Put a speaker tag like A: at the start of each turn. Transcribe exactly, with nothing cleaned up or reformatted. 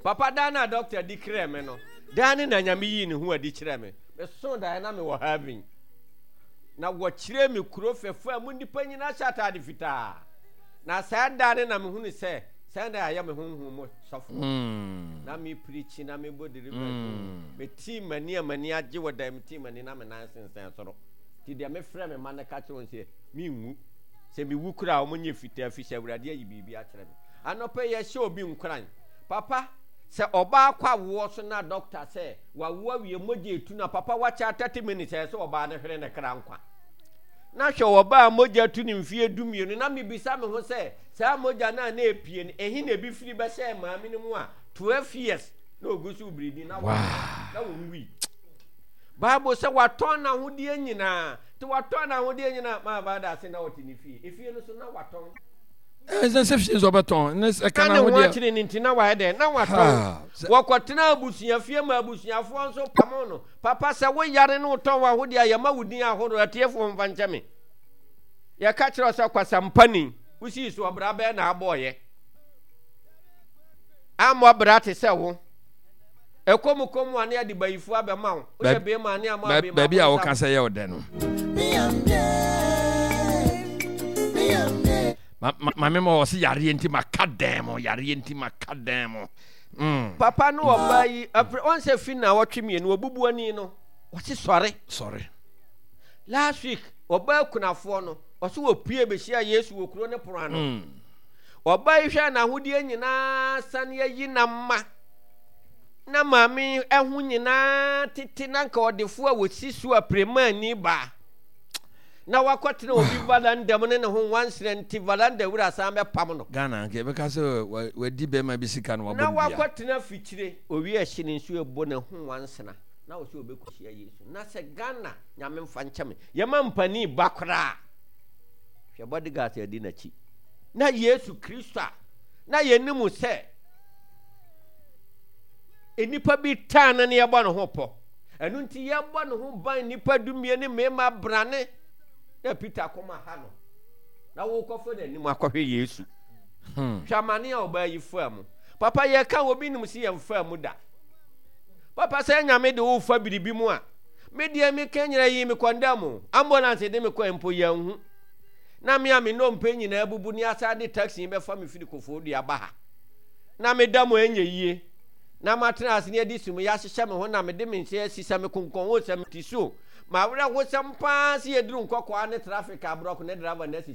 A: Papa, daa na doctor di kyerɛɛ me no, daa ne na Nyame yii ne ho adi kyerɛɛ me. Mesoo daeɛ na mewɔ heaven. Na wɔkyerɛɛ me kuro fɛfɛ a mu nnipa nyinaa hyɛ ataade fitaa. Na saa da no na mehunu sɛ saa da ayɛ me honhom mu sɔfo.
B: Mm.
A: Na me preach na mebɔ deliverance.
B: Mm.
A: Metii m'ani a m'ani agye wɔ dan metii m'ani na me nan sensɛn soro. Nti deɛ mefrɛ me ma no ka kyerɛ wɔn sɛ menwu. Sɛ mewu koraa a wɔn nyɛ fitaa fi sɛ Awurade ayi biribi akyerɛ me. Anɔpa yi yɛhyɛ obi nkuran. Papa, sɛ ɔbaa kɔ awoɔ so na dɔkta sɛ wawo awie mogya etu na papa wakyɛ thirty minutes ɛyɛ sɛ ɔbaa no hwere ne kra nkwa. Na hwɛ ɔbaa a mogya tu ne mfeɛ du mmienu na mebisa me ho sɛ saa mogya no a na epie no ehe na ebi firi bɛhyɛɛ maame no mu a twelve years na ogu so biridi na
B: Wow.
A: na wɔn Bible sɛ watɔn n'ahodeɛ nyinaa nti watɔn n'ahodeɛ nyinaa maa baada ase na ɔte ne fie efie no so na watɔn.
B: Ɛsɛ sɛ fie nso ɔbɛtɔn ne sɛ
A: na
B: ka
A: ne ho
B: n'ahodeɛ.
A: Akyere ne nti na wayɛ dɛn na watɔn.
B: Ha, sɛ-
A: Wɔkɔtena abusua fie ma abusuafoɔ nso pamo no. Papa, sɛ woyare ne wotɔn w'ahodeɛ a, yɛma wo din ahoroɔ. Atiefoɔ mfa nkyɛ me, yɛka kyerɛ wo sɛ kwasampani wosii so ɔbra bɛɛ na abɔɔyɛ ammɔ bra te sɛ wo ɛkɔm kɔm a ne ade bayifoɔ abɛma wo woyɛ bɛrima ne ama bɛrima.
B: Baabi a woka sɛ yɛ wo dɛ no, maame ma wɔ se yareɛ nti maka dɛn mo, yareɛ nti maka dɛn mo. Mm.
A: Papa no ɔbaa yi apere ɔn sɛ fi na ɔtwe mmienu ɔbubu ani no ɔse sɔre.
B: Sɔre.
A: Last week ɔbaa kunafoɔ no ɔse wɔpue bɛhyia Yesu wɔ kuro ne pono ano.
B: Mm.
A: Ɔbaa yi hwɛ n'ahodeɛ nyinaa sane ayi na ma na maame ɛho nyinaa tete na nka ɔdefoɔ a wɔsi so a premaani baa na wakɔtena obi valanda mu ne ne ho nwansena nti valanda wura san bɛpam no.
B: Ghana nka yɛbɛka sɛ wadi bɛrima bi sika na wabɔ
A: na
B: no dua.
A: Wakɔtena fikyire owi ahyi ne nsuo ɛbɔ ne ho nwansena na ɔsɛ ɔbɛkɔhyia Yesu. Na sɛ Ghana, Nyame mfa nkyɛ me, yɛma mpani ba koraa, hwɛ bodyguards adi n'akyi na Yesu Kristo a na yɛnim sɛ nnipa bi taa no ne yɛbɔ ne ho pɔ, ɛno nti yɛbɔ ne ho ban nnipa dumie ne mmarima brane na Peter kɔma ha no na wokɔfa n'anim akɔhwɛ Yesu.
B: Hmm.
A: Hwɛ amane a ɔbaa yi faa mu. Papa, yɛka obi nim sɛ yɛmfaa mu da. Papa, sɛ Nyame de wofa biribi mu a, me deɛ meka nyina yi me kɔndam o, ambulance de me kɔ mpo yɛnhu na me a me nnompe nyinaa bubu ne asa de taxi bɛfa me firi Koforidua ba ha na meda mu ɛnyɛ yie na matena ase ne adi sum yɛahyehyɛ me ho na mede me nsa asi sɛ me konkɔn o sɛ mete so mawerɛhosɛm paa sɛ yɛduru Nkɔkɔa ne traffic aborɔko ne driver no asisi